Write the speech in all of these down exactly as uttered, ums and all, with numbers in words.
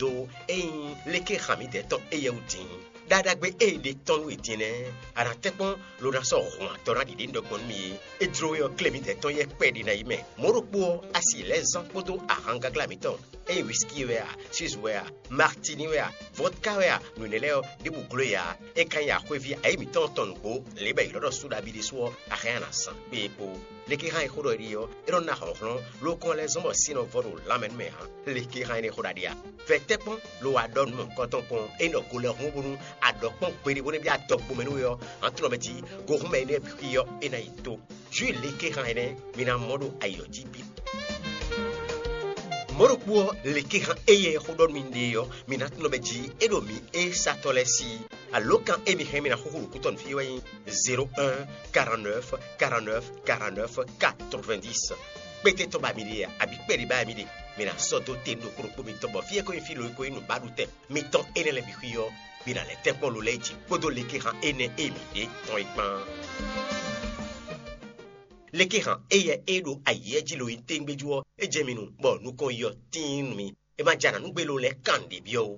Ɖó ényí léké han mǐdɛɛ tɔn éyɛ́ wú din, ɖaɖagbe e è ɖe tɔn nú we din nɛ́, a nǎ tɛ́nkpɔ́n lo ná sɔ́ hɔn atɔ́ ná ɖiɖe nú ɖɔ gbɔn nú mì é. É jló we ɔ́, klé mǐdɛɛ tɔn yɛ́ kpɛɖé ná yi mɛ. Mɔ̌ ɖokpó ɔ́, a si lɛ́ zán kpódó ahangaglá mǐtɔn, ényí whisky wɛ a, suze wɛ a, martini wɛ a, vodka wɛ a, nǔ énɛ́ lɛ́ɛ ɔ́, ɖěbǔ gló e ǎ. É ka nyí axwéví ayǐ mǐtɔn tɔn nǔgbó, lě bɔ è ylɔ́ ɖɔ Súɖabi ɖésú ɔ́, a hɛn a nǎ zán kpé é kpó. Lekéhan e xó ɖɔ é ɖe ɔ́, é nɔ ná hlɔ̌nhlɔ́n, lókɔn lɛ́ zɔ́n bɔ sin nɔ vɔ ɖo lanmɛ nú mɛ ǎ. Lekéhan énɛ́ xó ɖaɖe a? Vɛ tɛ́nkpɔ́n lo wá ɖɔ nǔ mɔ̌hunkɔtɔn kpɔ́n, é nɔ go lɛ́ hún bónú a ɖɔ kpɔ́n gbeɖé bó nɛ́ byɔ́ adɔgbomɛ nú we ɔ́, an tunɔ mɛ jí go hún mɛ énɛ́ bǐ xwí ɔ́, é ná yi tó. Jǔ lekéhan énɛ́ mi ná mɔ ɖo ayi ɔ́ jí bǐ. Mɔ̌ ɖokpó ɔ́, lekéhan éyɛ́ xó ɖɔ nú mi ɖe ɔ́, mi ná tunɔ mɛ jí é ɖo mǐ é satɔ́ lɛ́ɛ sí. Alǒkan e mi hɛn mi ná xúxú ɖo kútɔ́ nú fí wɛ nyí zéro un, quarante-neuf, quarante-neuf, quarante-neuf, quatre-vingt-dix. Kpéte tɔn ba mi ɖe a, abǐ kpɛɖé ba mi ɖe, mi ná sɔ́ dó te nú ɖokpó ɖokpó mitɔn bɔ fí e ko nyí fí lo e ko nyí nǔbaɖutɛn mitɔn énɛ́ lɛ́ɛ bǐ xwí ɔ́, mi ná lɛ́ tɛ́nkpɔ́n lo lɛ́ɛ jí kpódó lekéhan énɛ́ e mi ɖe tɔn é kpán. Lekéhan éyɛ́ e ɖo ayǐ jí lo nyí téŋgbéjú ɔ́, é jɛ mi nu, bɔ nukɔn yi ɔ́ tíin nú mi. É ma jɛ anǎ nú gbé lo lɛ́ɛ kan ɖě byɔ́ ó.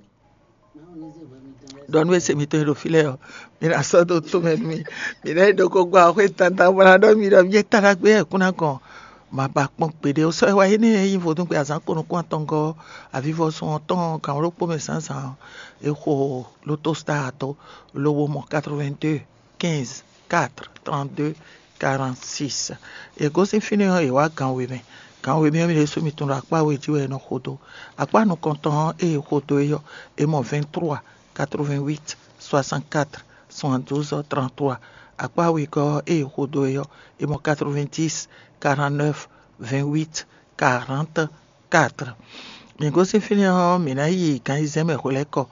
Ɖɔ nú ese mitɔn e ɖo fí lɛ́ɛ ɔ́, mi ná sɔ́ dó tó mɛ nú mì. Mi ná yi ɖo ko gbɔ axwé dandan bɔ ná ɖɔ mi ɖɔ mi é ta ɖagbe wɛ kún ná gɔn. Ma ba kpɔ́n gbeɖé ó. Sɔ́ e wá énɛ́ e nyí vodúngbe azǎn ko nukún atɔngɔ́ ɔ́, avivɔsun ɔ́ tɔn gǎn ɖokpó mɛ zǎnzǎn ɔ́, è xo lotostar dó lobo mɔ quatre-vingt-deux, quinze, quatre, trente-deux, quarante-six. È gosín fínɛ́ ɔ́, è wǎ gan we mɛ. Gan we mɛ ɔ́, mi ɖésú mi tunwun ɖɔ akpá we jí wɛ è nɔ xo dó. Akpá nukɔntɔn ɔ́, ée è xo dó é ɔ́, è mɔ vingt-trois, quatre-vingt-huit, soixante-quatre, soixante-douze, trente-trois. Akpá wegɔ́ ɔ́, ée è xo dó é ɔ́, è mɔ quatre-vingt-dix, quarante-neuf, vingt-huit, quarante-quatre. Mi gosín fínɛ́ ɔ́, mǐ ná yi gan ayizɛ́n mɛ hwelɛ́kɔ.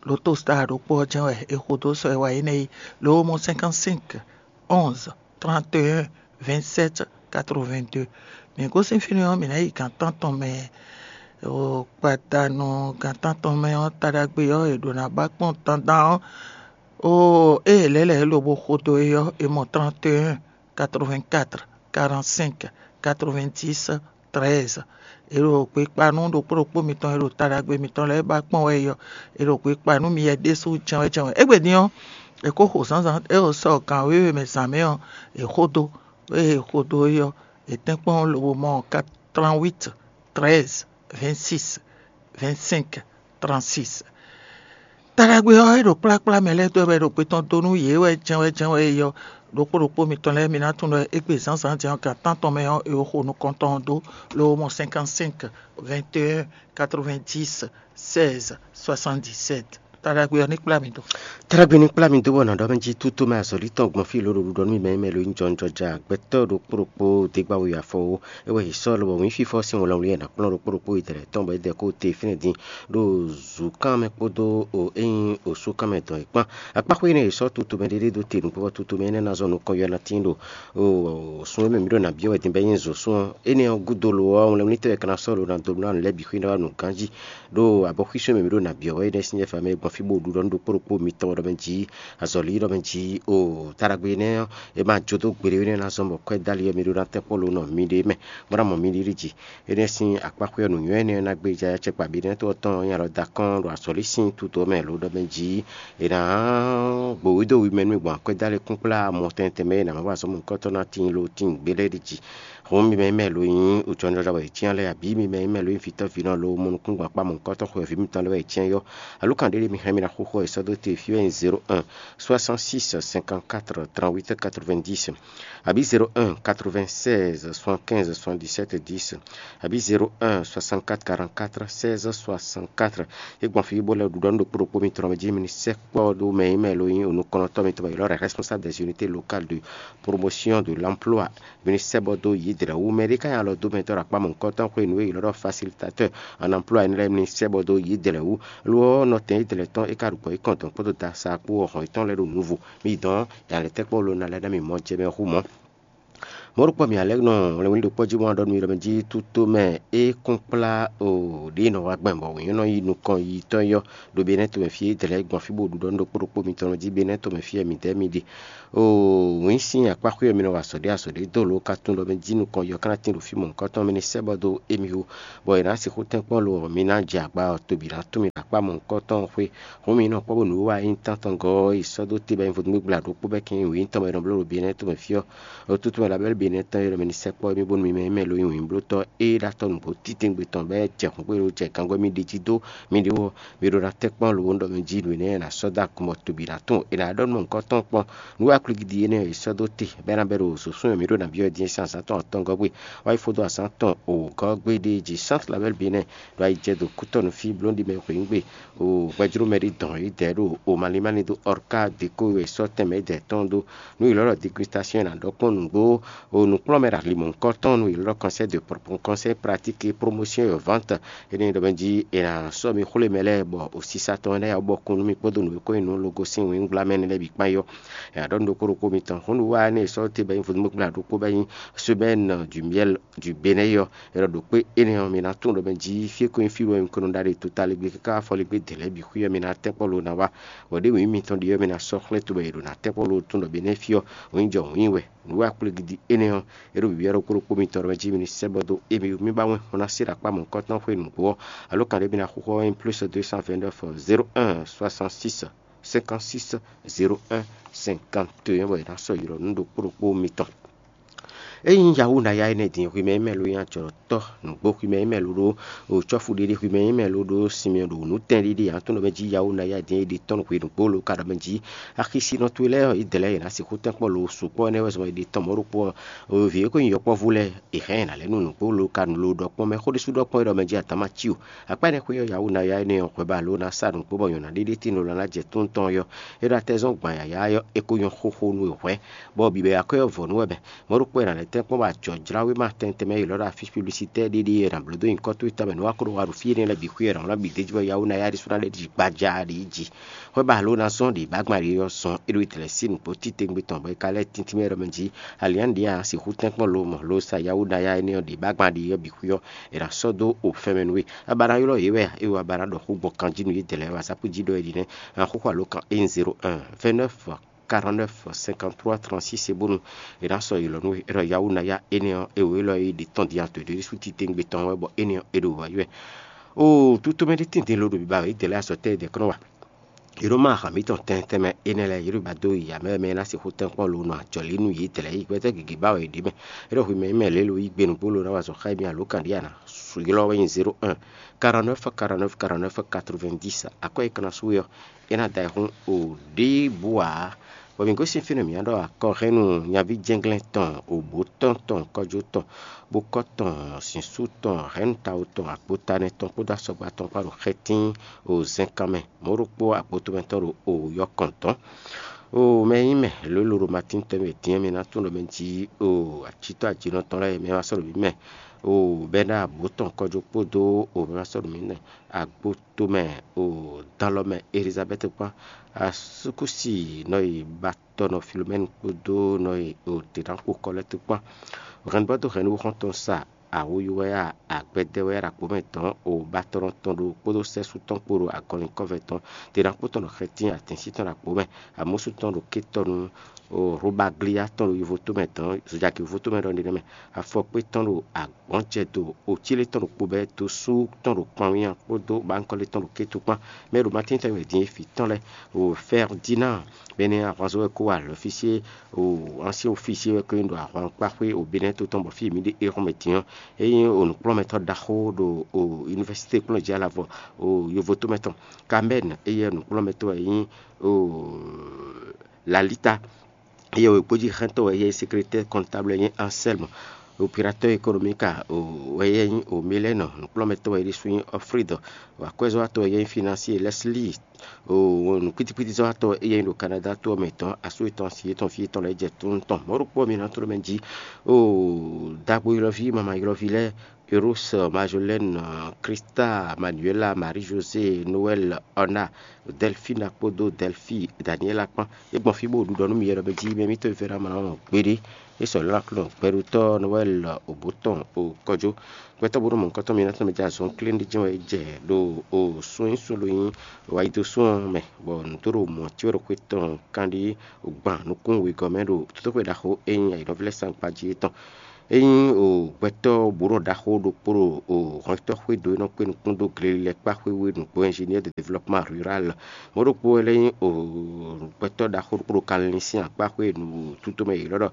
Lotostar ɖokpó ɔ́ jɛ́n wɛ è xo dó sɔ e wá énɛ́ é, lǒ mɔ cinquante-cinq, onze, trente et un, vingt-sept, quatre-vingt-deux. Mǐ gosín fínɛ́ ɔ́, mǐ ná yi gan tántɔn mɛ. Gbadanu gan tántɔn mɛ ɔ́, taɖagbe ɔ́, è ɖǒ ná ba kpɔ́n dandan ɔ́. Ó, ée lɛ̌ lɛ̌ lobo xo dó é ɔ́, è mɔ trente et un, quatre-vingt-quatre, quarante-cinq, quatre-vingt-dix, treize. È ɖo gbekpa nú ɖokpó ɖokpó mitɔn e ɖo ta ɖagbe mitɔn lɛ́ɛ ba kpɔ́n wɛ é ɔ́, è ɖo gbekpa nú mi wɛ ɖésú jɛ́n wɛ jɛ́n wɛ. Égbé din ɔ́, è ko xo zǎnzǎn e ɔ sɔ gan wěwe mɛ zǎn mɛ ɔ́, è xo dó. Ée è xo dó é ɔ́, è tɛ́nkpɔ́n lobo mɔ trente-huit, treize, vingt-six, vingt-cinq, trente-six. Ta ɖagbe ɔ́, é ɖo kplá kplá mɛ lɛ́ɛ dó wɛ bɔ è ɖo gbe tɔn dó nú yě wɛ jɛ́n wɛ jɛ́n wɛ é ɔ́, ɖokpó ɖokpó mitɔn lɛ́ɛ mi ná tunwun ɖɔ égbé zǎnzǎn din ɔ́, gan tántɔn mɛ ɔ́, è xo nukɔntɔn ɔ́ dó, lobo mɔ cinquante-cinq, vingt et un, quatre-vingt-dix, seize, soixante-dix-sept. Ta ɖagbe ɔ́ ní kplá mi dó. Trágbé ní kplá mi dó bɔ nǎ ɖɔ mɛ jí tútú mɛ azɔ̌lí tɔn gbɔn fí lǒ ɖo ɖuɖɔ nú mi mɛ mɛ lo nyí jɔnjɔja gbɛtɔ́ ɖokpó ɖokpó dégbáwé afɔ ó. É wɛ è sɔ́ lobɔ wǐn fífɔ sín wlawlí e è nǎ kplɔ́n ɖokpó ɖokpó yi dɛ̌ tɔn bɔ é dɛ kó te fínɛ́ din ɖo zǔkán mɛ kpódó o é nyí osúkán mɛ dɔn é kpán. Akpáxwé énɛ́ è sɔ́ tutu mɛ ɖéɖé dó te nukpɔ́ bɔ tutu mɛ énɛ́ ná zɔn nukɔn yɔ ná tín ɖo sun e mɛ mǐ ɖo nǎ byɔ́ wɛ din bɔ é nyí zǒsún ɔ́. Énɛ́ ɔ́ gúdo lo ɔ́, wlɛ́núnítɔ́ e ka ná sɔ́ lo ná dó nú nǔ lɛ́ɛ bǐ xwé ná wá nǔ ganjí ɖo abɔxwísú e mɛ mǐ ɖo nǎ byɔ́ wɛ énɛ́ sín jɛ́ mɛ gbɔn fí bó ɖu ɖɔ nú ɖokpó ɖokpó mitɔn ɖɔ mɛ jí azɔ̌lí ɖɔ mɛ jí o taɖagbe énɛ́ ɔ́, è ma jó dó gbeɖé énɛ́ ná zɔ́n bɔ kwɛ́ dali ɔ́ mi ɖó ná tɛ́nkpɔ́n lo nɔ miɖée mɛ, bó ná mɔ miɖée ɖi jí. Énɛ́ sín akpáxwé ɔ́, nǔnywɛ́ énɛ́ ɔ́ ná gbéjá yá cɛkpa bǐ énɛ́ tó ɔ́ tɔn nyí alɔ da kɔn ɖo azɔ̌lí sín tutó mɛ lǒ ɖɔ mɛ jí è nǎ gbowídó wi mɛ nú mi gbɔn akwɛ́ dali kúnkplá mɔ tɛntɛn mɛ e nǎ má wa azɔ̌ mɔ̌hunkɔtɔn ná tíin lo tíin gbé lɛ́ɛ ɖi jí. Hǔn mi mɛ nyí mɛ lo nyí ujɔnjɔnjɔ wɛ è cyán lɛ́ɛ abǐ mi mɛ nyí mɛ lo nyí vǐtɔ́vinɔ lo mɔ nukúngbɔn akpá mɔ̌hunkɔtɔn xwɛví mitɔn lɛ́ɛ wɛ è cyán yɔ. Alǔkan ɖé ɖé mi hɛn mi ná xóxó è sɔ́ dó te fí wɛ nyí zéro un, soixante-six, cinquante-quatre, trente-huit, quatre-vingt-dix, abǐ zéro un, quatre-vingt-seize, soixante-quinze, soixante-dix-sept, dix, abǐ zéro un, soixante-quatre, quarante-quatre, seize, soixante-quatre. É gbɔn fí bó lɛ́ ɖu ɖɔ nú ɖokpó ɖokpó mitɔn mɛ jí mi ní sɛkpɔ́ ɖó mɛ e mɛ lo nyí onukɔnɔtɔ́ mitɔn bɔ è ylɔ́ ɖɔ responsable des unités locales de promotion de l'emploi. Mi ní sɛ́ bɔ dó yě dlɛ̌ wú. Mɛ ɖé ka nyi alɔ dó mɛ tɔn ɖo akpá mɔ̌hunkɔtɔn xwé nǔ e è ylɔ́ ɖɔ facilitateur en emploi énɛ́ lɛ́ɛ, mi ní sɛ́ bɔ dó yě dlɛ̌ wú. Lo ɔ́, nɔtɛn yě dlɛ̌ tɔn é ka ɖo gbɔ̌ yi kɔn dɔn kpódó dasa kpó ɔ́ hɔn yětɔn lɛ́ɛ ɖo nǔvo. Mi dɔn yǎ lɛ́ tɛ́ kpɔ́ lo ná lɛ́ ná mi mɔ jɛ mɛ hú mɔ̌. Mɔ̌ ɖokpó mi alɛ́ nɔ wlɛnwlí ɖokpó jí bó wá ɖɔ nú mi ɖɔ mɛ jí tútó mɛ é kún kplá o ɖě nɔ wá gbɛn bɔ wǐnyɔ́ nɔ yi nukɔn yi tɔn yɔ ɖo Benɛ́ɛ tomɛ fí é dlɛ̌ gbɔn fí bó ɖu ɖɔ nú ɖokpó ɖokpó mitɔn jí Benɛ́ɛ tomɛ fí wɛ midɛɛ mi ɖe. O wǐn sín akpáxwé ɔ́ mi nɔ wa azɔ̌ ɖé azɔ̌ ɖé dó lǒ ka tunwun ɖɔ mɛ jí nukɔn yɔ ká ná tín ɖo fí mɔ̌hunkɔtɔn mɛ ní sɛ́ bɔ dó émí wú, bɔ è nǎ sixú tɛ́nkpɔ́n lo ɔ́ mi ná jɛ agba ɔ́ tobi ná tún mi ɖo akpá mɔ̌hunkɔtɔn xwé. Hǔn mi nɔ kpɔ́ bónú wá nyí tántɔn gɔ́ ɔ́ yi sɔ́ dó te bɔ nyí vodúngbégbla ɖokpó bɛ́ kɛn wǐ tɔn bɔ è nɔ bló ɖo Benɛ́ɛ tomɛ fí ɔ́. Otútú mɛ labɛ́ Benɛ́ɛ tɔn e ɖɔ mɛ ní sɛkpɔ́ émí bónú mi mɛ nyí mɛ lo nyí wǐnblótɔ́ é ɖo atɔ́ nǔgbó títɛ́ngbé tɔn bɔ é jɛ hǔngbéɖó jɛ gangɔ́ émí ɖe jí dó mi ɖe wú ɔ́, mi ɖó ná tɛ́nkpɔ́n lo ɔ́ ɖɔ mɛ jí nǔ énɛ́ ná sɔ́ dó agun bɔ tobi ná tún è nǎ ɖɔ nú mɔ̌hunkɔtɔn kpɔ́n. Nǔ aklúgidi énɛ́ e è sɔ́ dó te bɔ é ná bɛ́ ɖo zǒsún e mǐ ɖo nǎ byɔ́ din sín azǎn tɔn atɔngɔ́ gbe wá yi fó dó azǎn tɔn wǒgɔ́ gbéɖée jí Sainte Labelle Benɛ́ɛ ɖo ayijɛdo kútɔ́ nú fí bló ɖi mɛ hweyǐngbe o gbɛjló mɛ ɖé dɔn yědɛɛ ɖo o malín mɛ ní dó ɔrká deko e sɔ́ tɛnmɛ yědɛɛ tɔn dó. Nǔ ylɔ́ ɖɔ dégustasyon e nǎ ɖɔ kpɔ́n nǔgbó o nǔkplɔ́nmɛ ɖo ali mɔ̌hunkɔtɔn nú ylɔ́ ɖɔ conseil de pro- conseil pratique et promotion et vente. Énɛ́ ɖɔ mɛ jí è nǎ sɔ́ mi xwlé mɛ lɛ́ɛ bɔ o sisa tɔn énɛ́ ya bɔ kún nú mi kpódó nǔ e ko nyí nú logo sín wǐngblámɛ énɛ́ lɛ́ɛ bǐ kpán yɔ. È nǎ ɖɔ nú ɖokpó ɖokpó mitɔn hǔn nǔ wa énɛ́ e sɔ́ te bɔ nyí vodúngbégbla ɖokpó bɔ nyí semaine du miel du Benɛ́ ɔ́, è nɔ ɖo kpé énɛ́ ɔ́, mi ná tunwun ɖɔ mɛ jí fí e ko nyí fí bɔ mi ko nɔ ɖa ɖe totaligbé káká afɔligbé dě lɛ́ɛ bǐ xwí ɔ́, mi ná tɛ́nkpɔ́n lo ná wá. Bɔ ɖěbǔ nyí mitɔn ɖe ɔ́, mi ná sɔ́ xlɛ́ to bɔ è ɖo ná tɛ́nkpɔ́n lo tunwun ɖɔ Benɛ́ fí ɔ́, wǐn jɔ wǐn wɛ. Nǔ wa kplé gidi énɛ́ ɔ́, é ɖo bǐbí ɔ́ ɖokpó ɖokpó mitɔn ɖɔ mɛ jí mi ní sɛ́ bɔ dó émí wú. Mi ba wɛn xɔ ná se ɖo akpá mɔ̌hunkɔtɔn xwé nǔgbó ɔ́, alo kan ɖé mi ná xúxú ɔ́ nyí plus deux cent vingt-neuf zéro un soixante-six cinquante-six zéro un cinquante et un bɔ è nǎ sɔ́ ylɔ́ nú ɖokpó ɖokpó mitɔn. Ényí yahú ná ya énɛ́ din xwimɛ mɛ ló nyí ajɔ̌tɔ́ nǔgbó xwimɛ mɛ ló ɖó cɔ́fu ɖiɖi xwimɛ mɛ ló ɖó sinmɛ ɖo nǔtɛn ɖiɖi ǎ tɔn ɖɔ mɛ jí yahú ná ya din é ɖe tɔ́n hwe nǔgbó ló ka ɖɔ mɛ jí axisínɔ towe lɛ́ɛ ɔ́, é dɛ lɛ́ɛ yě ná sixú tɛ́nkpɔ́n lo sukpɔ́ énɛ́ wɛ zɔn è ɖe tɔn mɔ̌ ɖokpó ɔ́. Vǐ e ko nyí yɔkpɔ́vú lɛ́ɛ è hɛn ɛ ná lɛ́ nú nǔgbó ló ka lo ɖɔ kpɔ́n mɛ xó ɖésú ɖɔ kpɔ́n é ɖɔ mɛ jí adǎma cí o. Akpá énɛ́ xwé ɔ́, yahú ná ya énɛ́ ɔ́ hwɛ ba ló ná sa nǔgbó bɔ nyɔ̌ná ɖé ɖé tín ló ná jɛ tún tɔn ɔ́. É ɖo atɛ zɔn gban yǎyá ɔ́, é ko nyɔ́ xóxó nú è hwɛ̌, bɔ bǐbɛ́ akwɛ́ ɔ́ vɔ nú wɛ mɛ. Mɔ̌ ɖokpó è nǎ lɛ́ tɛ́nkpɔ́n bɔ ajɔ̌jláwéma tɛntɛn mɛ e è lɔ̌ ɖɔ afísi publisitɛ́ ɖiɖi e è nǎ bló dó nyǐkɔ towe tɔn mɛ nǔ wá ko ɖo wa ɖo fí énɛ́ lɛ́ɛ bǐ xwí è nǎ wlán bǐ d'é jí bɔ yahú ná ya ɖésú ná lɛ́ ɖi gbaja ɖě jí. Hwɛ ba lǒ ná zɔ́n ɖě bá gbɔn ali ɔ́ zɔn é ɖo Italɛ́ɛ sín nǔgbó títewungbe tɔn bɔ é ka lɛ́ tíntín mɛ ɖɔ mɛ jí ali ǎ ɖě ǎ sixú tɛ́nkpɔ́n lo mɔ lo sa yahú ná ya énɛ́ ɔ́ ɖě bá gbɔn ali ɔ́ bǐ xwí ɔ́, è nǎ sɔ́ dó o fɛn mɛ nú we. A ba ná ylɔ́ yě wɛ a, é wɛ a ba ná ɖɔ xó gbɔn kan jí nú yě dɛ̌ lɛ́ɛ wɛ a zǎ kú jí ɖɔ é ɖi nɛ́. An xóxó alo kan énzéro un vɛ́nɛ́f karɔ́nɛ́f sɛnkantrúwa trɔnsísi bónú è nǎ sɔ́ ylɔ̌ nú we. É ɖɔ yahú ná ya énɛ́ ɔ́, é wǒ élɔ́ e ɖě tɔn din ato ɖě ɖésú titewungbe tɔn wɛ bɔ énɛ́ ɔ́, é ɖo wǎ yi wɛ. Oo, tútú mɛ ɖé tɛ́ntin lo ɖo biba wɛ yě dɛ̌ lɛ́ɛ azɔ̌ tɛ́ yě dɛ̌ kɔn nɔ wa. Yě ɖo má ahan mǐtɔn tɛntɛn mɛ énɛ́ lɛ́ɛ, yě ɖo ba dó ya mɛ mɛ ná sixú tɛ́nkpɔ́n lo nɔ ajɔ̌ lí nú yě dlɛ̌ yi gbɛ́tɛ́ gěgé ba wɛ yě ɖe mɛ. É ɖɔ hwi mɛ nyí mɛ lě lo yí gbe nǔgbó lo ná wa azɔ̌ xá émí alo kan ɖíe a nǎ ylɔ́ wɛ nyí zéro un karɔ́nɛ́f karɔ́nɛ́f karɔ́nɛ́f katrovɛ́ndísi. Akwɛ́ e ka ná sú we ɔ́, é ná da ayǐ xún o ɖěbǔ ǎ. Bɔ mǐ gosín fínɛ́ mǐ ná ɖɔ akɔhɛ́nnu nyaví jɛ́nglɛ́n tɔn, òbǒ tɔn tɔn, kɔjó tɔn, bókɔ́ tɔn, zǐnsú tɔn, hɛ̌nnu tawo tɔn, agbotanɛ tɔn kpódó asɔgba tɔn kpán ɖo xɛtín o zɛnkan mɛ. Mɔ̌ ɖokpó agbotomɛ tɔn ɖo o yɔkɔn tɔn. O mɛ e nyí mɛ lǒ e lo ɖo Matín tɔn mɛ din ɔ́, mi ná tunwun ɖɔ mɛ jí o acitɔ́ ajinɔ tɔn lɛ́ɛ mɛ wá sɔ́ ɖo mǐ mɛ. O bɛ́ ná abǒ tɔn kɔjó kpódó o mɛ wá sɔ́ ɖo mǐ mɛ. Agbotomɛ o dan lɔ mɛ Elizabɛ́ti kpán. Asúkúsi nɔ e ba tɔ nɔ Filomɛ́ni kpódó nɔ e o dě ná kpo kɔ lɛ́ɛ tó kpán. Hɛn bɔ dó hɛn nú xɔ́ntɔn sa awo yi wɛ a, agbɛdɛ wɛ a ɖo akpo mɛ dɔn o batɔnɔ tɔn ɖo kpódó sɛ́sú tɔn kpó ɖo agɔlinkɔ́vɛ tɔn. Te ná kpó tɔn ɖo xɛtín atɛ̌nsin tɔn ɖo akpo mɛ. Amúsú tɔn ɖo kétɔnu o Hlobaglia tɔn ɖo yovo tó mɛ dɔn, zojaki yovo tó mɛ ɖɔ ɖe nɛ́ mɛ. Afɔkpé tɔn ɖo agbɔ̌njɛdo, ocílé tɔn ɖo kpobɛ́, dosú tɔn ɖo kpanwínya kpódó bankɔlé tɔn ɖo kétu kpán. Mɛ ɖo Matín tɔn wɛ din e vǐ tɔn lɛ́ɛ o Fɛrdinand bɛ́nɛ́ ahwanzɔ́ wɛ kó wa lɔfísyé o ancien officier wɛ ko nyí ɖo ahwankpáxwé o Benɛ́ to tɔn bɔ fí e mǐ ɖe éhɔ́n mɛ din ɔ́, é nyí o nǔkplɔ́nmɛtɔ́ ɖaxó ɖo o univɛsité kplɔ́njɛ́ alavɔ o yovo tó mɛ tɔn. Kamɛ́n éyɛ́ nǔkplɔ́nmɛtɔ́ wɛ nyí o Lalita. Éyɛ́ wěgbójíxɛ́ntɔ́ wɛ yɛ nyí, sekrétɛ́ kɔntáblu wɛ nyí Ansɛ́lmu, operatɔ́ ekonomika wɛ yɛ nyí Omilɛ́nɔ, nǔkplɔ́nmɛtɔ́ wɛ é ɖésú nyí Ɔflídɔ, akwɛ́zɔ́watɔ́ wɛ yɛ nyí Finansié Lɛ́slíi, nǔkpítíkpítizɔ́watɔ́ wɛ é yɛ nyí ɖo Kanáda to ɔ́ mɛ tɔn, asú yětɔn, asi yětɔn, fí yětɔn lɛ́ɛ jɛ tónú tɔn. Mɔ̌ ɖokpó ɔ́, mi ná tló mɛ jí, oo, dagbo ylɔ́ví, mama ylɔ́ví lɛ́ɛ, Eros, Majolɛ́n, Krista, Manuela, Marie José, Noɛl, Ɔna, Dɛlfina kpódó Dɛlfi, Daniela kpán. É gbɔn fí bó ɖu ɖɔ nú mi yɛ ɖɔ mɛ jí mɛ mítɔn e fɛ́ ná mlɔ́ gbeɖé. É sɔ́ lɛ́ ná klɔ́n gbɛɖutɔ́ Noɛl òbó tɔn o kɔjó. Gbɛtɔ́ bó nɔ mɔ nukɔn tɔn mi ná tɔn mɛ jɛ azɔn klín ɖé jɛ́n wɛ é jɛ ɖo o sún nyi sún ɖo nyi wayidosún ɔ́ mɛ, bɔ nǔ tó ɖo mɔ̌ cí wɛ ɖo xwé tɔn kanɖí gban nukún wegɔ́ mɛ ɖo tótóxwé ɖaxó e nyí ayǐɖɔ́vlɛ́ sangbají é tɔn. É nyí o gbɛtɔ́ bǔnɔ ɖaxó ɖokpó ɖo o hɔntɔ́ xwédo e nɔ kpé nukún dó glelilɛkpá xwé we nǔgbó ingénieur de développement rural. Mɔ̌ ɖokpó wɛ lɛ́ nyí o gbɛtɔ́ ɖaxó ɖokpó ɖo kanlin sín akpá xwé nǔtútú mɛ yě ylɔ́ ɖɔ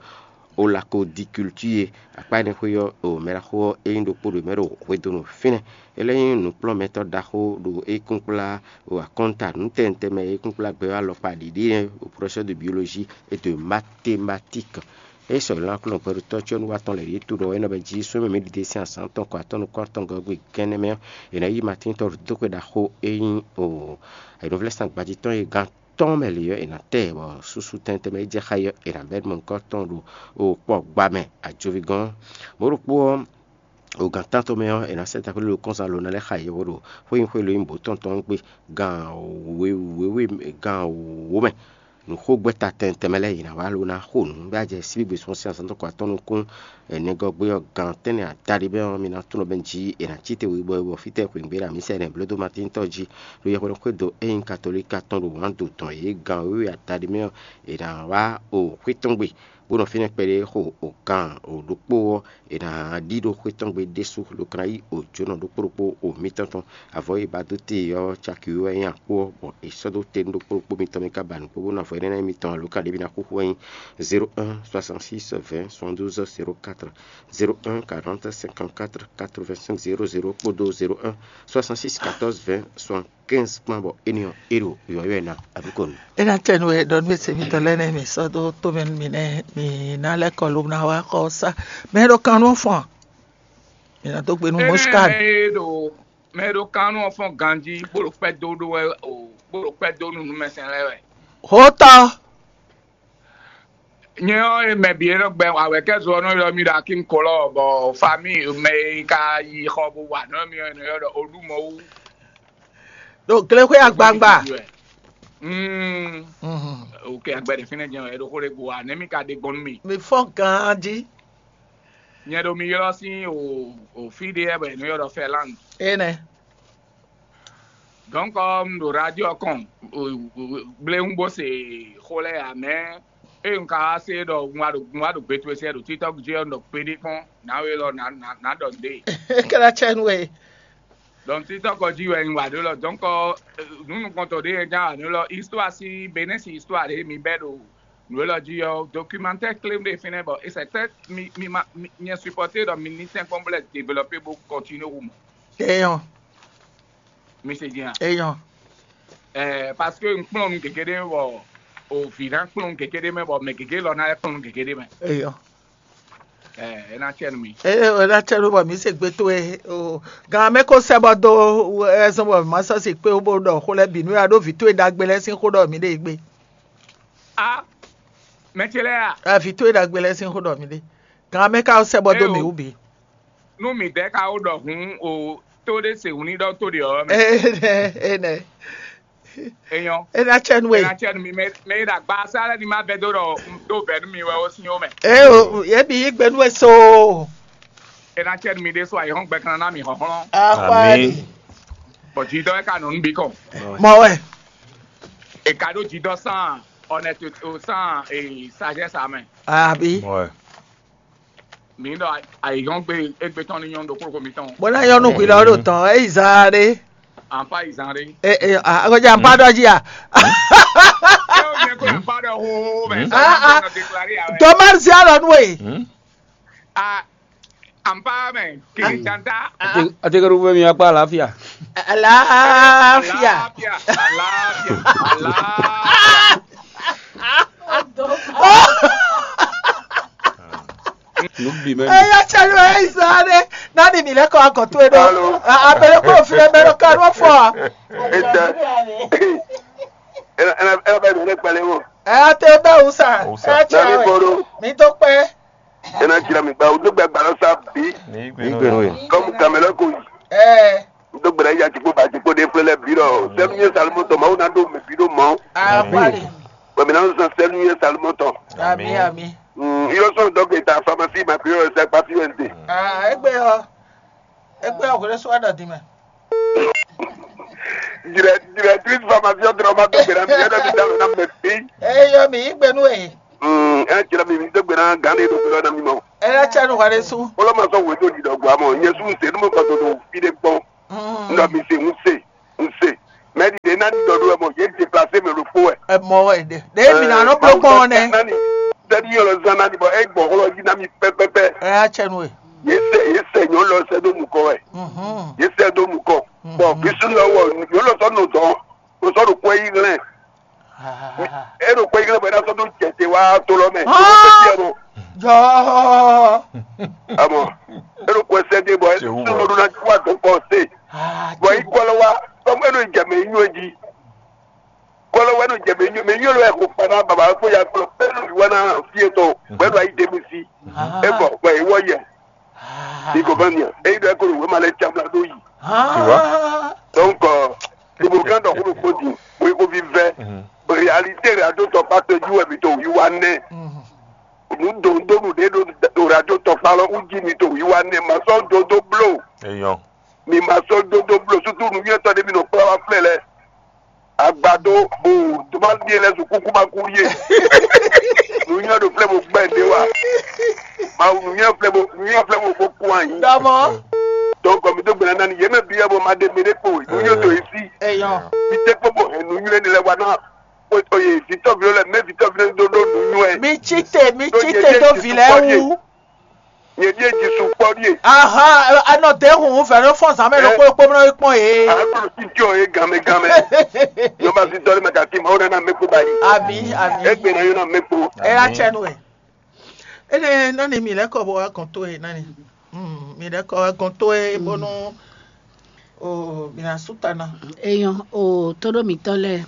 olakodikultúr e. Akpá énɛ́ xwé ɔ́, o mɛ ɖaxó ɔ́ é nyí ɖokpó ɖo mɛ ɖo hwedonu fínɛ́. É lɛ́ nyí nǔkplɔ́nmɛtɔ́ ɖaxó ɖo é kúnkplá o akɔ́nta nǔtɛnutɛn mɛ e é kúnkplá gbɛ ɔ́ alɔkpa ɖiɖi é, o professeur de biologie et de mathématiques. É sɔgbe ná kplɔ́n gbɛɖutɔ́ cyɔ́núwatɔ́ lɛ́ɛ ɖíe to ɖɔ é nɔ bɛ jí súnmí mǐ ɖiɖe sín azǎn tɔn kɔ atɔ́ nukún atɔngɔ́ gbe gɛ́nɛ́ mɛ ɔ́, è nǎ yí Matín tɔn ɖo dódóxwe ɖaxó e nyí o ayǐnúvlɛ́sán gbajitɔ́ e gán tɔn mɛ lě ɔ́, è nǎ tɛ bɔ susu tɛntɛn mɛ e jɛ xá é ɔ́, è nǎ bɛ́ nukɔn tɔn ɖo o kpɔgba mɛ ajovi gɔ́n. Mɔ̌ ɖokpó ɔ́, o gǎn tántɔn mɛ ɔ́, è nǎ sɛ́ taxwlí ɖo kɔ́nsan lo ná lɛ́ xa yɛhweɖo xwé nyí xwé lo nyí bǒtɔn tɔn gbe gan wěwé gan wǒ mɛ. Nǔxogbɛ́ta tɛntɛn mɛ lɛ́ɛ yě ná wá lo ná xo nǔ bɔ ajɛ síbígbe sɔ́ sín azɔn dó kɔ atɔ́ nukún. Nɛgɔ́ gbé ɔ́, gan tɛ́nnɛ adaɖé mɛ ɔ́, mi ná tunɔ bɛ́ jí è nǎ cí te wǐ bɔ é bɔ fítɛ́ xwǐngbe ɖo amǐsɛ nɛ̌ blódó Matín tɔ́ jí, ɖó yɛhweɖɔ xwédo ényí katolíka tɔn ɖo wǎn do tɔn yě gan wěwé adaɖé mɛ ɔ́, è nǎ wá o xwé tɔn gbe, bó nɔ fínɛ́ kpɛɖé xo o gan o ɖokpó ɔ́, è nǎ ɖí ɖó xwé tɔn gbe ɖésú, lobo ka ná yí o jǒnɔ ɖokpó ɖokpó o mitɔn tɔn. Avɔ e ba dó te ɔ́, caki wɛ nyí akpó ɔ́, bɔ è sɔ́ dó te nú ɖokpó ɖokpó mitɔn mɛ ká ba nǔ kpó bónú avɔ énɛ́ ná nyí mitɔn ǎ. Lǒ ka ɖě mi ná xúxú wɛ nyí zéro un soixante-six vingt soixante-douze zéro quatre, zéro un quarante cinquante-quatre quatre-vingt-cinq zéro zéro kpódó zéro un soixante-six quatorze vingt soixante-quinze kpán, bɔ éní ɔ́, é ɖo yɔ̌yɔ́ ɛ ná abǐ ko nú. É ná tɛ nú we ɖɔ nú e se mitɔn lɛ́ɛ nɛ́ mǐ sɔ́ dó tómɛ nú mi nɛ́, mǐ ná lɛ́ kɔ lobo ná wá xɔ sá. Mɛ e ɖo kan nú ɔ́ fɔ́n a? Mǐ ná dó gbe nú Moscad. Mɛ e ɖo mɛ e ɖo kan nú ɔ́ fɔ́n ganjí bó ɖo kpɛ́ dó ɖó wɛ o, bó ɖo kpɛ́ dó nú nǔmɛsɛn lɛ́ɛ wɛ. Hótɔ́. Nyɛ ɔ́, e mɛ bǐ e nɔ gbɛ awɛ̌kɛ́zo ɔ́ nɔ ylɔ́ mì ɖo Akínkɔlɔ, bɔ famíi mɛ e ka yi xɔ bó wa nǔ mì ɔ́, è nɔ ylɔ́ ɖɔ Olúmɔwú. Ɖo glexwé agbangba. Mm. Mhm. Ok, agbɛ ɖe fínɛ́ jɛ́n wɛ, é ɖo xó ɖé gbo wa, nɛ̌ mì ka ɖe gbɔn nú mì? Mi fɔ́n ganjí. Nyɛ ɖo mi ylɔ́ sín o, o fí ɖé wɛ bɔ è nɔ ylɔ́ ɖɔ Fɛlándu. Énɛ́. Donc, un ɖo radio kɔn, gblé un bó se xó lɛ́ɛ ǎ, mɛ ée un ka wá se ɖɔ un wá ɖo un wá ɖo gbe towe sɛ ɖo TikTok jí ɔ́, un ɖɔ gbeɖé kpɔ́n, nǎwe lɔ nǎ nǎ nǎ ɖɔ nǔɖé. Kɛ́ɖá cɛ nú we. Donc TikTok ɔ́ jí wɛ un wa ɖó lɔ. Donc, nǔ nukɔntɔn ɖé e ján wa ɖó lɔ, histoire si Benin si histoire ɖé mi bɛ́ ɖo nǔ élɔ́ jí ɔ́, documentaire clé ɖé fínɛ́ bɔ et c'est très mi mi ma mi- nyɛ supporter ɖɔ mi ní tɛ́nkpɔ́n bó lɛ́ développer bó continuer wu mɔ. Eyɔn, Mi se jɛn a? Eyɔn. Ɛɛ, parce que un kplɔ́n nu gěgé ɖé bɔ o vǐ ná kplɔ́n nu gěgé ɖé mɛ bɔ mɛ gěgé lɔ ná lɛ́ kplɔ́n nu gěgé ɖé mɛ. Eyɔn. Ɛɛ, é ná cɛ nu mi. Eye o ná tɛ ɖo bɔ mi se gbe towe o gan mɛ ko sɛ bɔ do ɛzɔn bɔ ma sɔ si kpe bó ɖɔ xó lɛ bǐ nú ya ɖó vǐ towe ɖagbe lɛ sín xó ɖɔ mi ɖe gbe. A mɛ ce lɛ́ɛ a? A vǐ towe ɖagbe lɛ sín xó ɖɔ mi ɖe. Gan mɛ ka sɛ bɔ do Eo. Mi wú bǐ. Nú mǐ dɛ́ ka wó ɖɔ hǔn o tó ɖé se wǔ ní ɖɔ tó ɖe ɔ́ mɛ. Enɛ enɛ. Enyɔ. Ena cɛ nu e. Ena cɛ nu mi mɛ mɛ yi ɖo agba sá lɛ ni ma bɛ dó ɖɔ un dó bɛ nú mi wɛ ó sín ó mɛ. Ee o yɛ bi yí gbe nú e so. Ena cɛ nu mi ɖé so ayihɔn gbɛ kan ná mi hɔhlɔn. Akpari. Bɔ jidɔ e ka nɔ nú bi kɔn. Mɔ wɛ. E ka ɖo jidɔ sán honnêteté sán sagesse amɛ. Abi. Mǐ ɖɔ ayǐhɔ́ngbe égbé tɔn ní nyɔ́ ɖokpó ɖokpó mitɔn. Bó ná nyɔ́ nú hwi lɔ ɖo tɔn é yi zan ɖé. Ampa yi zan ɖé. E e akɔjá ampa ɖɔ jí a. Eo nyɛ ko ampa ɖɔ ho mɛ. Ah, ah. Dɔmɛri si alɔ nú e. Ah, ampa mɛ kiri tanta. Atekeɖu fún mi akpa àlàáfíà. Àlàáfíà. Àlàáfíà. Àlàáfíà. Àlàáfíà. Nugbi mɛ. Eya cɛ ló ẹ sáré. Nani mi lẹ kọ akọ tó e dɔ. Abẹlẹ kó fi ẹgbẹ lọ kánú fọ. Ete. Ena ena ena bẹ mi ne kpali wo. Ẹ tẹ bẹ wusa. Ẹ cẹ wẹ. Mi tó pẹ. Ena jira mi gba o dogbe agbala sa bi. Igbe no ye. Comme Cameroun ko yi. Eh. Dogbe ya jikpo ba jikpo de flele bi lɔ. Sɛnu ye salimo tɔ mawu na do mi bi do mɔ. Ah, Amen. Bali. Bɛ mi na san sɛnu ye salimo tɔ. Ami, ami. Mm, yo so dogbe ta pharmacie ma pio se pa pio nte. Ah, egbe o. Egbe o kore so ada dime. Directrice formation dɔrɔn ma dó gbe na mi, yɛrɛ mi da na mɛ fi. Eye yɔ mi yí gbe nú e. Mm, ɛ jira mi mi dó gbe na gan de do gbe na mi mɔ. Ela tsa nu hwa ɖe su. Wolo ma sɔ wo do di dɔ gba mɔ, nyɛ su se nu mo kɔ do do fi de kpɔn. Ndɔ mi se un se, un se. Mɛ di de na ni dɔ do mɔ, ye déplacer me lo po wɛ. Ɛ mɔ wɛ de. De mi na nɔ blo kpɔn nɛ. Nani? Sɛni yɔrɔ zan nani bɔ e gbɔ hɔlɔ yi na mi pɛpɛpɛ. Ela tsa nu e. Ye sɛ ye sɛ nyɔ lɔ sɛ do nukɔ wɛ. Mhm. Ye sɛ do nukɔ. Bɔn bisu lɔ wɔ yɔ lɔ sɔ nɔ dɔn o sɔ ɖo kɔ yi hlɛn. E ɖo kɔ yi hlɛn bɔ e na sɔ do jɛ te wa to lɔ mɛ. Ah! Jɔ. Amɔ e ɖo kɔ sɛ de bɔ e sɔ do na wa dɔn kɔ se. Bɔn yi kɔ lɔ wa tɔmɔ e ɖo jɛ mɛ yi nyɔ ji. Kɔ lɔ wa e ɖo jɛ mɛ yi nyɔ mɛ yi nyɔ lɔ wɛ ko kpa na baba ko ya kplɔ e ɖo yi wa na fi etɔn bɔ e ɖo ayi de mi si. E bɔ bɔ e wɔ yɛ. Ikovania, eyi ɖɔ ekolo wema lɛ camla ɖo yi. Tu vois? Donc, ibokan dɔ kolo kpodi, weko vivɛ. Réalité radio tɔkpa tɔjú wɛ mi to wiwa nɛ. Nu dondonu ɖe ɖo radio tɔkpa lɔ uji mi to wiwa nɛ ma sɔ dodo blo. Eyɔn. Mi ma sɔ dodo blo sutu nu yɛtɔ ɖe mi nɔ kpla wa flɛ lɛ. Agbado o, tó bá di lɛ sùn kúkú bá kú yé. Nùnyá ɖo flɛ mo gbɛ ɖe wa. Mawu nùnyá flɛ mo nùnyá flɛ mo ko kú anyi. Dɔmɔ. Donc mi dó gbɛnɛ nani yé mɛ bi yɛ bɔ ma ɖe mi ɖe kpo nùnyá tó yi sí. Eyɔn. Mi tɛ kpɔ bɔ hɛn nùnyá ni lɛ wa ná. O ye vitɔ vi lɛ mɛ vitɔ vi lɛ do do nùnyá. Mi tsi te mi tsi te do vi lɛ wu. Nyɛ ɖíe Jesu kpɔ ɖíe. Aha, anɔ de hun vɛ ɖo fɔn zan mɛ ɖokpó ɖokpó mɛ nɔ kpɔn ye. Agbɔnɔ ti jɔ ye ganmɛ ganmɛ. Nyɔba si dɔli mɛ kati ma o nana mɛ kpo ba yi. Abi abi. Egbe na yɔ na mɛ kpo. E ya tsɛ nu ɛ. Ene nani mi lɛ kɔ bɔ wa gɔn to ye nani. Hmm, mi lɛ kɔ wa gɔn to ye bonu o mi na su ta na. Eyɔn o tóɖó mǐtɔn lɛ́ɛ,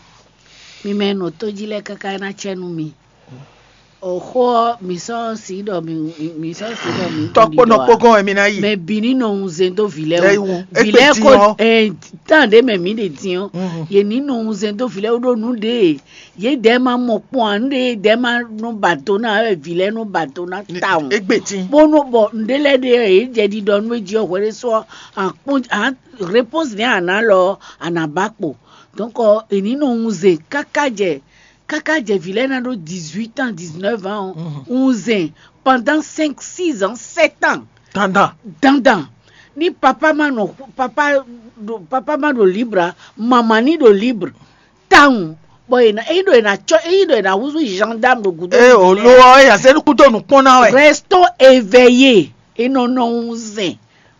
mi mɛ e nɔ tó jí lɛ́ɛ káká ná cɛ nú mi. O xó ɔ́, mǐ sɔ́ si ɖɔ mǐ mǐ sɔ́ si ɖɔ mǐ Tɔkpó nɔ kpó gɔ́n wɛ mi ná yi. Mɛ bǐ ní nɔ wunzɛn dó vǐ lɛ́ɛ Ɛ wú. Wú. Vǐ Égbé lɛ́ɛ din ko ɔ́. Ɛ, tán ɖě mɛ mǐ ɖe din ɔ́, yě ní nɔ wunzɛn dó vǐ lɛ́ɛ wú ɖó nǔ ɖě yědɛɛ ma mɔ kpɔ́n ǎ, nǔ ɖě yědɛɛ ma nɔ ba do ná ǎ wɛ vǐ lɛ́ɛ nɔ ba do ná tawun. Égbé din. Bónú bɔ nǔɖé lɛ́ɛ ɖe yě jɛ ɖiɖɔ nú é jí ɔ́, hwɛɖésú ɔ́, à kpɔ́n à réponse nɛ́ à nǎ lɔ ɔ́, à nǎ ba kpo. Donc è ní nɔ wunzɛn káká jɛ káká jɛ vǐ lɛ́ɛ ná ɖó dix-huit ans, dix-neuf ans ɔ́, wunzɛn pendant cinq, six ans, sept ans. Dandan. Dandan. Ní papa ma nɔ papa ɖo papa ma ɖo libre ǎ, mama ní ɖo libre. Tawun. Bɔ è nǎ é ɖo è nǎ cɔ é ɖo è nǎ húzú gendarme ɖo gǔdo. Ée o lo ɔ́, é nya sɛ́ nukún dó nǔkpɔ́n ná wɛ. Restons éveillés. È nɔ nɔ wunzɛn.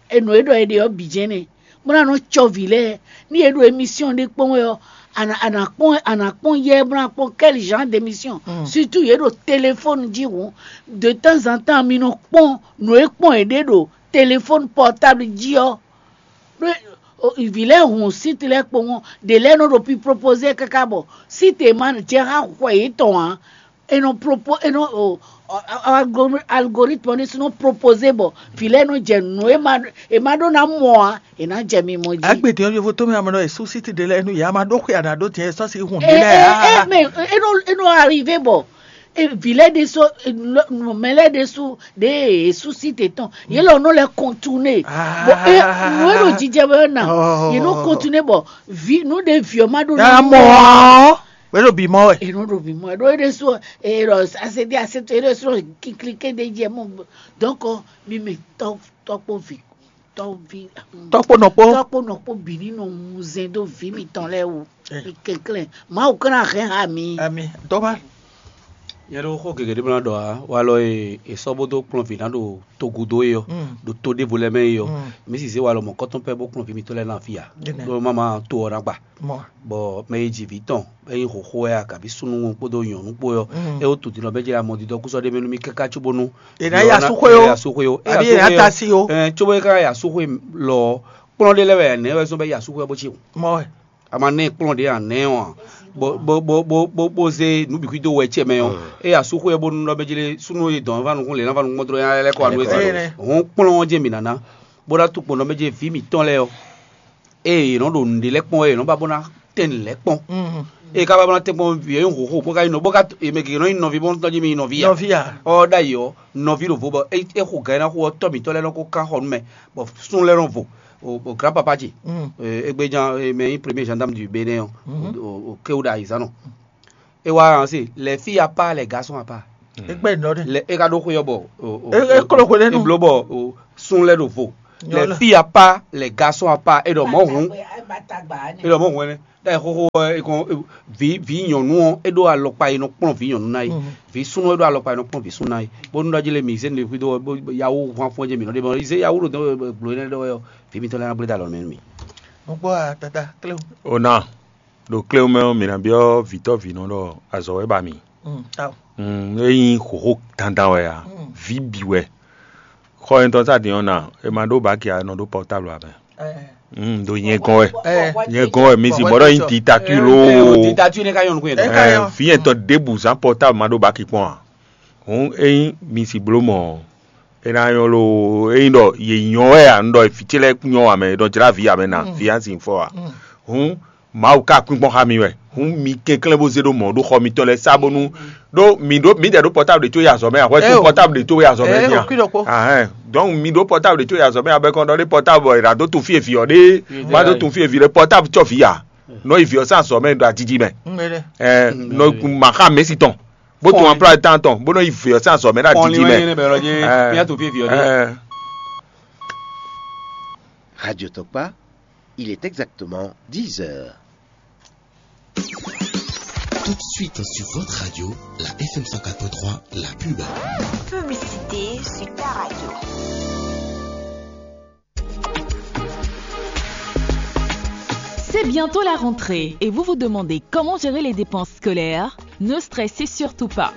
È nɔ é ɖɔ è ɖe ɔ́ bǐ jɛ́n nɛ́. Bó ná nɔ cɔ vǐ lɛ́ɛ. Ní è ɖo émission ɖé kpɔ́n wɛ ɔ́, à nǎ à nǎ kpɔ́n à nǎ kpɔ́n yɛ bó ná kpɔ́n quel genre d'émission. Surtout yě ɖo téléphone jí hǔn. De temps en temps mi nɔ kpɔ́n nǔ e kpɔ́n è ɖe ɖo téléphone portable jí ɔ́. Ɖó vǐ lɛ́ɛ hun site lɛ́ɛ kpowun, ɖě lɛ́ɛ nɔ ɖo pi propose káká bɔ site e ma jɛ xá xwɛ yětɔn ǎ, è nɔ propo è nɔ o algoritme ɖé sú nɔ propose bɔ vǐ lɛ́ɛ nɔ jɛ nǔ e ma è ma ɖó ná mɔ ǎ, è nǎ jɛ mimɔ jí. Agbede ɔ́ yovo tó mɛ amɔ nɔ e sú site ɖé lɛ́ɛ nú yě a ma ɖó xwe a nǎ ɖó tiɛ sɔ́ si hun ɖé lɛ́ɛ ǎ. Ɛ ɛ mɛ é nɔ é nɔ arrivé bɔ vǐ lɛ́ɛ ɖésú mɛ lɛ́ɛ ɖésú ɖě e sú site tɔn yě lɔ nɔ lɛ contourner. Bɔ é nǔ e ɖo jijɛ bɔ é na yě nɔ contourner bɔ vi nǔ ɖe vi ɔ́ ma ɖo ná mɔ ɔ́. Wɛ ɖo bǐ mɔ wɛ. È nɔ ɖo bǐ mɔ ɛ ɖó é ɖésú ɔ è ɖɔ asédé asétó é ɖésú ɔ kiklike ɖé jɛ mɔ. Donc mi mɛ tɔkpó vi tɔvi Tɔkpó nɔkpó. Tɔkpó nɔkpó bǐ ní nɔ wunzɛn dó vǐ mitɔn lɛ́ɛ wú. Mi kɛnklɛ́n Mawu kɛ́n ná hɛn ha mi. Ami dɔba. Nyɛ ɖo xó gěgé ɖé mlá ɖɔ ǎ, walɔ e è sɔ́ bó dó kplɔ́n vǐ ná ɖo togudo é ɔ́, ɖo to ɖěvo lɛ́ɛ mɛ é ɔ́, mǐ sì zé walɔ mɔ̌kɔ́tɔn pɛ́ bó kplɔ́n vǐ mitɔn lɛ́ɛ ná fí ǎ, ɖó má ma to ɔ́ ná gba. Bɔ mɛ e ji vǐ tɔn, é nyí xoxo wɛ a, kabi súnnu kpódó nyɔ̌nu kpó ɔ́, é wó tun din ɔ́, bɛ́ jɛ amɔdidɔkúsɔ ɖé mɛ nú mì káká cóbónú. È nǎ ya súxwé ó. Súxwé ó. Abǐ è nǎ ta sí ó. Cóbó é ká ya súxwé lɔ ɔ́, kplɔ́n ɖé lɛ́ wɛ a nɛ̌ wɛ zɔ́n bɛ́ ya súxwé ɔ́ bó cí o. Mɔ wɛ. A ma nɛ́ kplɔ́n ɖě a nɛ̌ ɔ́ a? bó bó bó bó bó bó zé nǔ bǐ xwído wɛ cɛ mɛ ɔ́, eye asúxwé ɔ́ bónú nɔ mɛ jlé súnnu e dɔn va nukún lě ná va nukún mɔdrɔ́ nyá lɛ́ kɔ anu Ɛ, ɛ, ɛ. Hɔn kplɔ́n ɔ́ jɛ mǐ nǎ ná, bó ná tukpɔn nɔ mɛ jɛ vǐ mǐtɔn lɛ́ɛ ɔ́, eye yě nɔ ɖo nǔɖé lɛ́ɛ kpɔ́n wɛ yě nɔ ba bó ná tɛn nǔ lɛ́ɛ kpɔ́n. Eye ká ba bó ná tɛn kpɔ́n vǐ ɔ́ nyí hǒxo bó ka nyí nɔ bó ka è mɛ gěgé nɔ nyí nɔví bó nɔ jí mì nyí nɔví ya. Nɔví ya. Ɔ́ ɖ'ayǐ ɔ́, nɔví ɖo vo bɔ é é xo gǎn é ná xo ɔ́, tɔ́ mǐtɔn lɛ́ɛ nɔ ko ká xɔ nú mɛ, bɔ sún lɛ́ɛ nɔ vo. O o grand papa ce, égbé jan mɛ nyí premier gendarme du Bénin ɔ́, o o kéwu ɖo ayizán nɔ. É wá hàn se, les filles à part, les garçons à part. Égbé nɔ ɖe. Lɛ é ka ɖó xwé ɔ́ bɔ o o É- é kló xwe lɛ́ɛ nu. É bló bɔ o sún lɛ́ɛ ɖo vo. Nyɔ les lɛ. Filles à part, les garçons à part, é ɖɔ mɔ̌ hǔn. É ɖɔ mɔ̌ hǔn ɛnɛ. Ɖa xóxó ɔ́, é kɔn vǐ vǐ nyɔ̌nu ɔ́, é ɖó alɔkpa e nɔ kplɔ́n vǐ nyɔ̌nu ná é. Vǐ súnnu é ɖó alɔkpa e nɔ kplɔ́n vǐ súnnu ná é. Bónú ɖɔ jí lé mǐ zé nǔɖé xwído ɔ́, bó yawú hwan fún ɔ́ jɛ mǐ nɔ ɖe mɔ zé yawú ɖo dɔn gblo énɛ́ ɖɔ wɛ ɔ́, vǐ mitɔn lɛ́ɛ ná gblé dó alɔ mɛ nú mì. Nukpɔ́ a tata kléwu. Ona ɖo kléwu mɛ ɔ́, mǐ ná byɔ́ vǐtɔ́ vǐnɔ ɖɔ azɔ̌ wɛ ba mì. Mm, ao. Mm, é nyí xǒxó dandan wɛ a? Vǐ bǐ wɛ. Xɔ nyitɔn sá din ɔ́ na, è ma ɖó baki a, è nɔ ɖó pɔrtáblu a mɛ. Mm, ɖo nyɛ gɔn wɛ. Nyɛ gɔn wɛ, mi si bɔ ɖɔ nyi dictature loo. Dictature ne ka nyɔnu kun yɛ. Ɛ, vǐ yɛn tɔn ɖěbǔ zán pɔrtáblu ma ɖó baki kpɔn a? Hǔn ényí mi si bló mɔ̌ ɔ́, é ná nyɔ́ loo. Ényí ɖɔ yě nyɔ́ wɛ a, un ɖɔ vǐ ce lɛ́ɛ nyɔ́ a mɛ, è nɔ jlá vǐ a mɛ na, vǐ a sin fɔ a? Hǔn Mawu ka kpínkpɔ́n xá mi wɛ. Hǔn mi kɛnklɛ́n bó zé ɖó mɔ̌ ɖó xɔ mitɔn lɛ́ɛ sá bónú ɖó mi ɖó mǐdɛɛ ɖó pɔtábl ɖě có yi azɔ̌ mɛ a? Hwɛ Ɛ, có o. Pɔtábl ɖě có yi azɔ̌ mɛ Ɛ, din a? Òkú ɖokpó. Ahɛn. Donc mi ɖó pɔtábl ɖě có yi azɔ̌ mɛ a? Bɔ è kɔn ɖɔ ɖé pɔtábl è nǎ dó tun fí e vǐ ɔ́ ɖe, má dó tun fí e vǐ ɖe, pɔtábl cɔ vǐ a? Nɔ yi vǐ ɔ́ sín azɔ̌ mɛ ɖo ajiji mɛ. Ɛ, nɔ ma xá mɛ̌si tɔn bó tun Fɔ́n. Emploi de temps tɔn bó nɔ yi vǐ ɔ́ sín azɔ̌ mɛ ɖo ajiji mɛ. Ɛ, Ɛ. Radio Tokpa, il est exactement dix heures. Tout de suite sur votre radio, la F M cent quatre point trois, la pub. Publicité sur ta radio. C'est bientôt la rentrée et vous vous demandez comment gérer les dépenses scolaires ? Ne stressez surtout pas.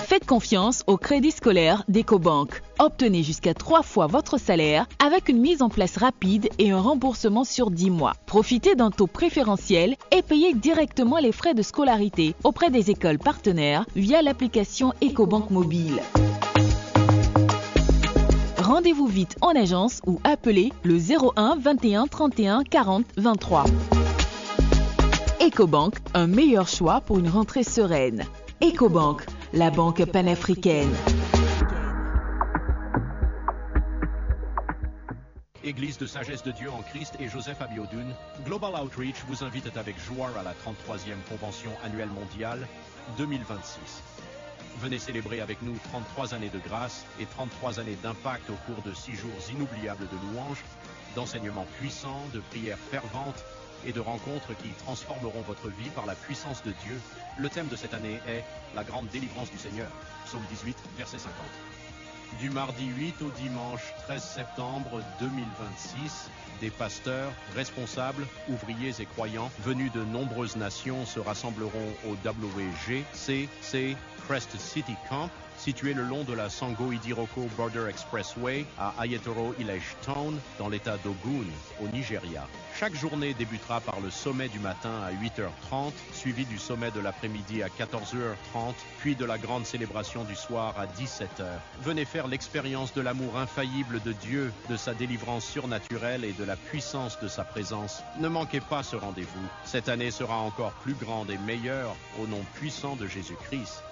Faites confiance au crédit scolaire d'Ecobank. Obtenez jusqu'à trois fois votre salaire avec une mise en place rapide et un remboursement sur dix mois. Profitez d'un taux préférentiel et payez directement les frais de scolarité auprès des écoles partenaires via l'application Ecobank Mobile. Rendez-vous vite en agence ou appelez le zéro un vingt et un trente et un quarante vingt-trois. Ecobank, un meilleur choix pour une rentrée sereine. Ecobank, la banque panafricaine. Église de Sagesse de Dieu en Christ et Joseph Abiodun, Global Outreach vous invite avec joie à la trente-troisième convention annuelle mondiale deux mille vingt-six. Venez célébrer avec nous trente-trois années de grâce et trente-trois années d'impact au cours de six jours inoubliables de louanges, d'enseignements puissants, de prières ferventes et de rencontres qui transformeront votre vie par la puissance de Dieu. Le thème de cette année est la grande délivrance du Seigneur. Psaume dix-huit, verset cinquante. Du mardi huit au dimanche treize septembre deux mille vingt-six, des pasteurs, responsables, ouvriers et croyants venus de nombreuses nations se rassembleront au W G C C Crest City Camp, situé le long de la Sango Idiroko Border Expressway à Ayetoro Ilage Town, dans l'état d'Ogun, au Nigeria. Chaque journée débutera par le sommet du matin à huit heures trente, suivi du sommet de l'après-midi à quatorze heures trente, puis de la grande célébration du soir à dix-sept heures. Venez faire l'expérience de l'amour infaillible de Dieu, de sa délivrance surnaturelle et de la puissance de sa présence. Ne manquez pas ce rendez-vous. Cette année sera encore plus grande et meilleure au nom puissant de Jésus-Christ.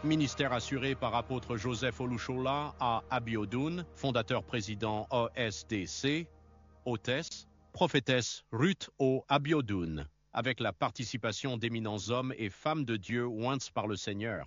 Ministère assuré par apôtre Joseph Olushola à Abiodun, fondateur président O S D C, hôtesse, prophétesse Ruth O Abiodun, avec la participation d'éminents hommes et femmes de Dieu oints par le Seigneur.